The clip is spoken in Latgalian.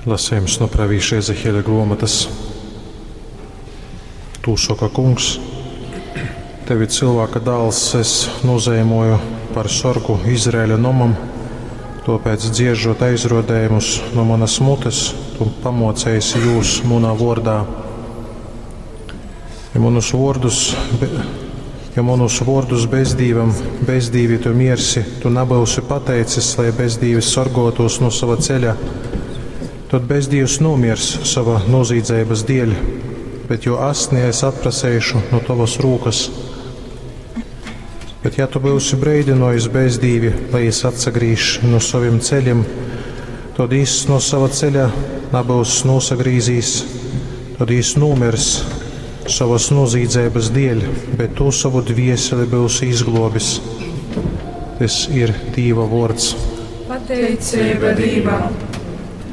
Lasejums nu pravīša Ezehieļa gruomotys. Tū soka Kungs: Tevi, cylvāka dāls, es nūzeimoju par sorgu Izraeļa nomam, tuopēc, dzieržot aizruodejumus nu munys mutes, tu pamuoceisi jūs munā vuordā. Ja munus vuordus, ja munus vuordus bezdīvam, bezdīvi tu miersi, tu nabyusi pateicis, lai bezdīvis sorguotūs nu sova ceļa, tod bezdīvs nūmiers sova nūzīdzeibys dieļ, bet juo asni es atpraseišu nu tovys rūkys. Bet ja tu byusi breidynuojis bezdīvi, lai jis atsagrīž nu sovim ceļim, tod jis nu sova ceļa nabyus nūsagrīzīs, tod jis nūmirs sovys nūzīdzeibys dieļ, bet tu sovu dvieseli byusi izgluobis. Tys ir Dīva vuords. Pateiceiba Dīvam!